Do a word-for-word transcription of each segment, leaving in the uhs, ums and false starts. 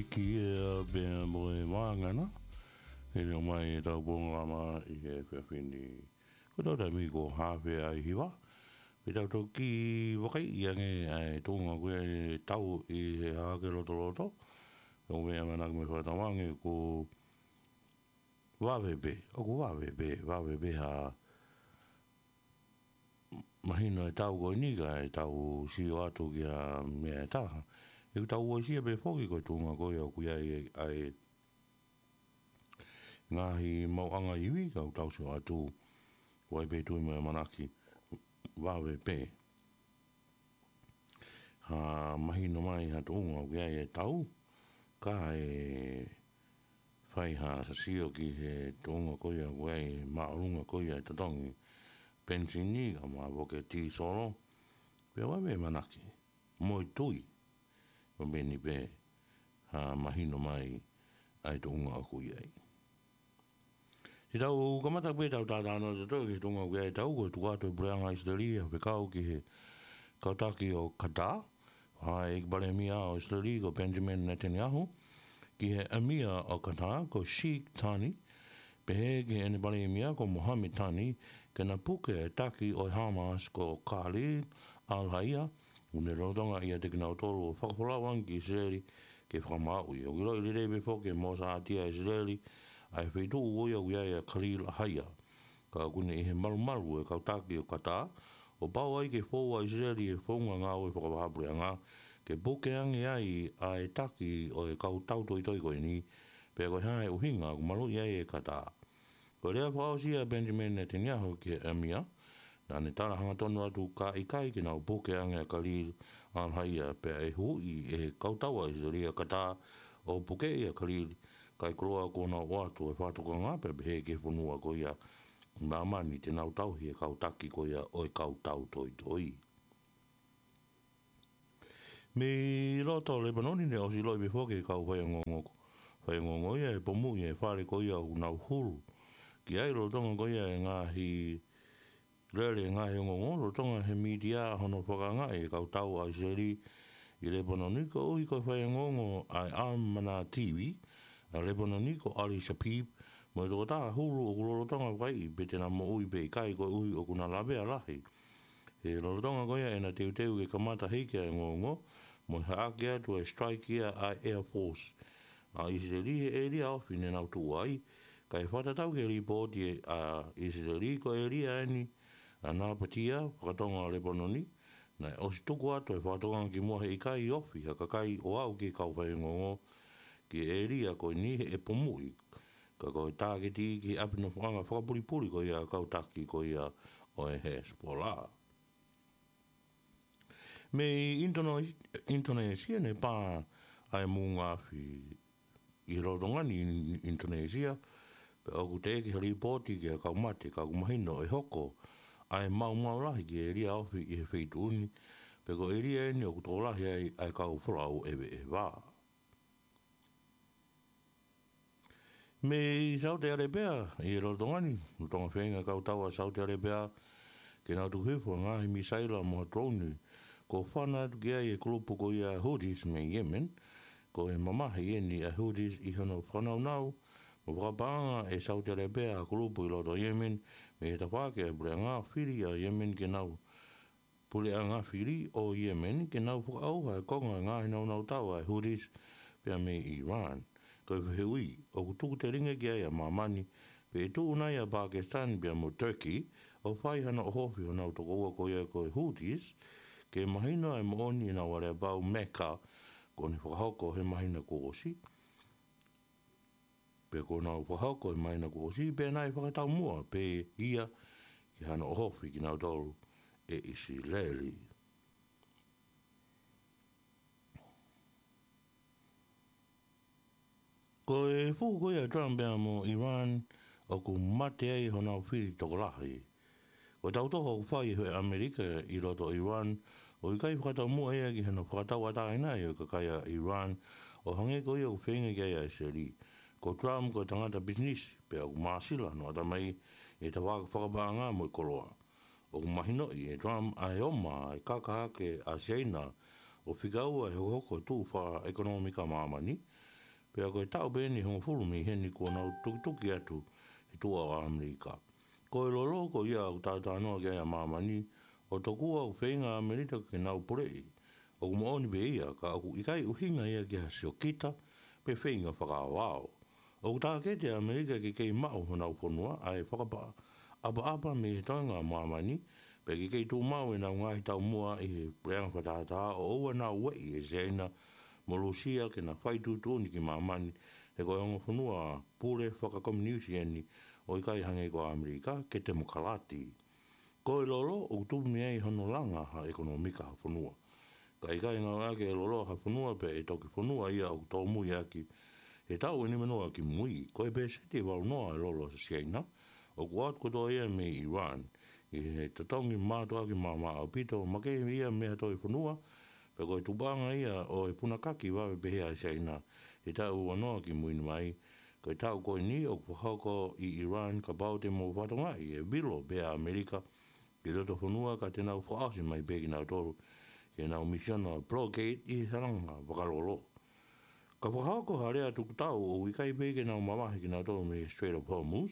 Ki he ʻea pea mo e vāngana, ʻe ʻomai ʻetau polokalama ʻi he efiafi ni. Ko ʻetau taimi ko e haafe ʻa e hiva. Pea tau toki vakaiʻi ange ʻa e tuʻunga ko ia ʻetau ʻi he hahake lotoloto. ʻOku ou ʻamanaki mo fakatauange kuo vave pē, ʻoku vave pē, vave pē ha mahino ʻetau ko eni kae tau sio atu ki ha meʻa ʻe taha. ʻOku tau uesia pē foki ko e tuʻunga ko ia ʻoku ʻi ai ʻa e ngaahi maʻuʻanga ivi, ka ʻoku tau sio atu, ʻoku ʻi ai pē tui mo e ʻamanaki, vave pē ha mahino mai ha tuʻunga ʻoku ʻi ai ʻetau, kae fai ha sio ki he tuʻunga ko ia ʻoku ʻi ai māʻolunga ko ia e totongi penisini, kae ʻumaʻā foki e tīsolo, pea ʻoku ʻi ai pē ʻamanaki mo e tui, ʻoku ʻi ai pē ha mahino mai ʻa e tuʻunga ʻoku ʻi ai. Te tau kamata pē ʻetau talanoa ʻatautolu ki he tuʻunga ʻoku ʻi ai ʻetau, ko e tuku atu ʻe he puleʻanga ʻIsileli ha fekau ki he kau taki ʻo Katā, ʻa e ʻEiki Palēmia ʻo ʻIsileli ko Benjamin Netanyahu, ki he ʻEmia ʻo Katā ko Sheikh Thani, pehē ki heʻene palēmia ko Mohammed Thani, ke na puke e taki ʻo e Hamas ko Khalil Al-Hayya, ʻoku ne lolotonga ʻiate kinautolu ʻo fakafolau ange ki ʻIsileli ke fakamaauʻi. ʻOku ʻiloʻi lelei pē foki ʻe mōsātia ʻe ʻIsileli ʻa e feituʻu ko ia ʻoku ʻi ai ʻa Khalil Al-Hayya. Ka ʻoku ne ʻi he malumalu e kau taki ʻo Katā, ʻo pau ai ke fou ʻa ʻIsileli he founga ngāue fakavahaʻapuleʻanga, ke puke ange ai ʻa e taki ʻo e kau tautoitoi ko eni, pea ko e hā e ʻuhinga ʻoku maluʻi ai ʻe Katā. Ko e lea fakaʻosi ʻa Benjamin Netanyahu ki he ʻEmia, naʻa ne tala hangatonu atu ka ʻikai ke nau puke ange ʻa Khalil Al-Hayya pea ʻe huhuʻi ʻe he kau tau ʻa ʻIsileli ʻa Katā ʻo pukeʻi ʻa Khalil, kae koloa kuo nau ʻoatu e fakatokanga pea pehē ki he fonua ko ia ʻi māmani te nau tauhi e kau taki ko ia ʻo e kau tautoitoi. Mei loto Lepanoni naʻe ʻosi ʻiloʻi pē foki ʻe he kau faiongoongo, faiongoongo ia ʻe pomuʻi e fale ko ia ʻoku nau hulu ki ai lolotonga ko ia e ngaahi lele ngaahi ongoongo, lolotonga he mītia hono fakaangaʻi e kau tau ʻa ʻIsileli ʻi Lepanoni, koeʻuhi ko e faiongoongo ʻa e ʻAmana T V ʻa Lepanoni ko Ali Shapib, mo e tokotaha hulu ʻoku lolotonga vakaiʻi pe te na moʻui pe ʻikai koeʻuhi ʻoku na lavea lahi. He lolotonga ko ia ʻena teuteu ke kamata hiki ʻa e ongoongo, mo e haʻaki atu e strike ia ʻa e Air Force ʻa ʻIsileli he ʻēlia ofi ne nau tuʻu ai, kae fakatatau ki he lipooti ʻa ʻIsileli ko e ʻēlia eni ʻa Napatia, fakatonga ʻo Lepanoni, naʻe ʻosi tuku atu e fakatokanga kimuʻa he ʻikai ofi ha kakai ʻo aʻu ki he kau faiongoongo ki he ʻēlia ko eni he ʻe pomuʻi, ka ko e tāketi ki he ʻapi nofoʻanga fakapulipuli ko ia kau taki ko ia ʻo e Hezbollah. Mei ʻInitono-, ʻInitonēsia naʻe pā ʻa e moʻunga afi ʻi he lolotonga ni ʻIn-, ʻInitonēsia, pea ʻoku teʻeki ha lipooti ki ha kau mate, ka ʻoku mahino ʻe hoko ʻa e maumau lahi ki he ʻēlia ofi ʻi he feituʻu ni, pea ko e ʻēlia eni ʻoku tokolahi ai ʻa e kau folau ʻeveʻeva. Mei Saute ʻAlepea, ʻi he lolotonga ni, lolotonga feinga kau tau ʻa Saute ʻAlepea ke nau tuku hifo ngaahi misaila mo ha drone, kuo fana atu ki ai e kulupu ko ia Houthis mei Yemen, ko e mamahi eni ʻa Houthis ʻi hono fakanaunau mo fakapaʻanga ʻe Saute ʻAlepea ha kulupu ʻi loto Yemen, mei he tafaʻaki ʻa e puleʻanga fili ʻa Yemen ke nau puleʻanga fili ʻo Yemen ke nau fakaʻauha e konga ngaahi naunau tau ʻa e Houthis pea mei Iran. Ko e fehuʻi, ʻoku tuku telinga ki ai ʻa māmani, pe ʻe tuʻu nai ʻa Pakistan pea mo Turkey ʻo fai hano ʻohofi honau tokoua ko ia ko e Houthis, ke mahino ʻa e moʻoni ʻenau aleapau Mecca, kuo ne fakahoko he māhina kuo ʻosi. Pea kuo nau fakahoko he māhina kuo ʻosi, pea naʻe fakataumuʻa pē ia ki hano ʻohofi kinautolu ʻe ʻIsileli. Ko e fuhu ko ia ʻa Trump pea mo Iran, ʻoku mate ai honau fili tokolahi. Ko e tautoho ʻoku fai ʻe ʻAmelika ʻi loto Iran, ʻoku ʻikai fakataumuʻa ia ki hano fakatauʻatāinaʻi ʻo e kakai ʻa Iran, ʻo hangē ko ia ʻoku feinga ki ai ʻa ʻIsileli. Ko Trump ko e tangata pisinisi, pea ʻoku māsila hono ʻatamai ʻi he tafaʻaki fakapaʻanga mo e koloa. ʻOku mahinoʻi ʻe Trump ʻa e ʻomai ʻa e kaka hake ʻa Siaina ʻo fika ua ʻi he hokohoko e tuʻu fakaʻekonōmika ʻa māmani, Pea ko e taʻu pē ʻeni ʻe hongofulu mei heni kuo nau tukituki atu he tuʻa ʻo ʻAmelika. Ko e lolo ko ia ʻoku talanoa ki ai ʻa māmani, ʻoku tokua ʻoku feinga ʻa ʻAmelika ke nau puleʻi. ʻOku moʻoni pē ia, ka ʻoku ʻikai ʻuhinga ia ki ha siokita pe feinga fakaaoao. ʻOku tāketi ʻa ʻAmelika ke kei maʻu honau fonua, ʻa e fakaʻapaʻapa mei he toenga ʻa māmani, pea ke kei tuʻu maʻu ʻenau ngaahi taumuʻa ʻi he puleʻanga fakatātā, ʻo ʻoua naʻa ueʻi ʻe Siaina mo Lūsia ke na fai tuʻutuʻuni ki māmani, he ko e ongo fonua pule fakakominiusi ʻeni, ʻo ʻikai hangē ko ʻAmelika, ke temokalati. Ko e lolo ʻoku tupu mei ai hono langa ha ʻekonōmika ha fonua. Ka ʻikai ngāueʻaki e lolo ha fonua pea ʻe toki fonua ia ʻoku tōmui ʻaki he taʻu ʻe nima noa ki mui. Ko e pēseti ʻe valu noa e lolo ʻa Siaina, ʻoku ʻoatu kotoa ia mei ʻIran. ʻI he totongi mātuʻaki maʻamaʻa ʻaupito, makehe ia mei ha toe fonua, pea ko e tupuʻanga ia ʻo e punakaki vave pehē ʻa Siaina he taʻu ua noa ki mui mai. Ko e taʻu ko eni ʻoku fakahoko ʻi ʻIran, kapau te mou fakatokangaʻi e vilo pē ʻa ʻAmelika ki loto fonua, ka te nau fakaʻosi mai pē kinautolu ki heʻenau misiona blockade ʻi he langa vakalolo. Ka fakahoko ha lea tukutau, ʻoku ʻikai pē ke nau mavahe kinautolu mei he Strait of Hormuz,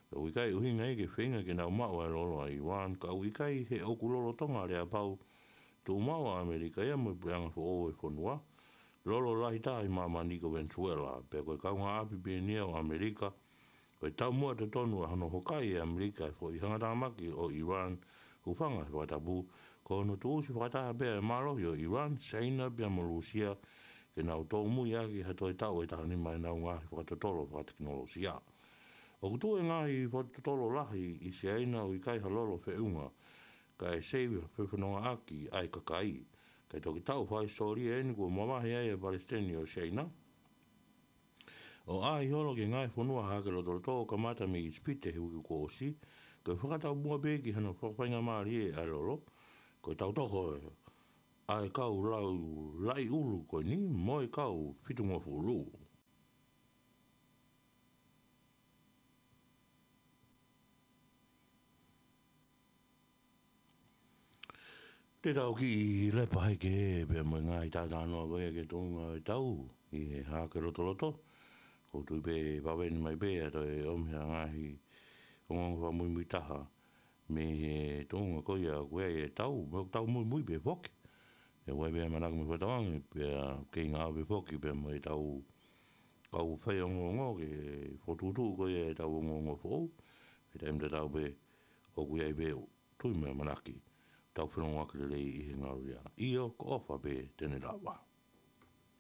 pea ʻoku ʻikai ʻuhinga ia ke feinga ke nau maʻu ʻa e lolo ʻa ʻIran, ka ʻoku ʻikai, he ʻoku lolotonga aleapau tuʻu maʻu ʻa ʻAmelika ia mo e puleʻanga foʻou ʻo e fonua. Lolo lahi taha ʻi māmani ko Venezuela, pea ko e kaungāʻapi pē ʻeni ia ʻo ʻAmelika, ko e taumuʻa totonu ʻa hono hokai ʻe ʻAmelika e foʻi hangatāmaki ʻo ʻIran, hūfanga he fakatapu, ko hono tuʻusi fakataha pē ʻa e mālohi ʻo ʻIran, Siaina pea mo Lūsia, ke nau tōmui ʻaki ha toe taʻu ʻe taha nima ʻenau ngaahi fakatotolo fakatekinolosia. ʻOku tuʻu e ngaahi fakatotolo lahi ʻi Siaina ʻoku ʻikai ha lolo feʻunga, kae seivi ha fefonongaʻaki ʻa e kakai. Kae toki taʻu fakahisitōlia ʻeni kuo mavahe ai e Palesiteni ʻo Siaina, ʻo ʻaʻahi holo ki he ngaahi fonua Hahake Lotoloto, kamata mei ʻIsipite he uike kuo ʻosi, ko e fakataumuʻa pē ki hano fakafaingamālie ʻa e lolo. Ko e tau toho ʻa e kau lau laʻi ʻulu ko eni mo e kau fitungofulu. Te tau kiʻi lepa hake pea mo e ngaahi talanoa ko ia ki he tuʻunga ʻo e tau ʻi he Hahake Lotoloto. ʻOku ou tui pē ʻe vave ʻeni mai pē ʻa e toe ʻomi ha ngaahi ongoongo fakamuimui taha mei he tuʻunga ko ia ʻoku ʻi ai e tau, mo e tau muimui pē foki. ʻOku ʻi ai pē ʻamanaki mo e fakatauange, pea kei ngāue pē foki pea mo e tau kau fai ongoongo ke fokotuʻutuʻu ko ia e tau ongoongo foʻou. He taimi tatau pē ʻoku ʻi ai pē ʻa e tui mo e ʻamanaki, tau felongoaki lelei ʻi he ngaluʻia. ʻIo, ko e ʻofa pē te ne lava.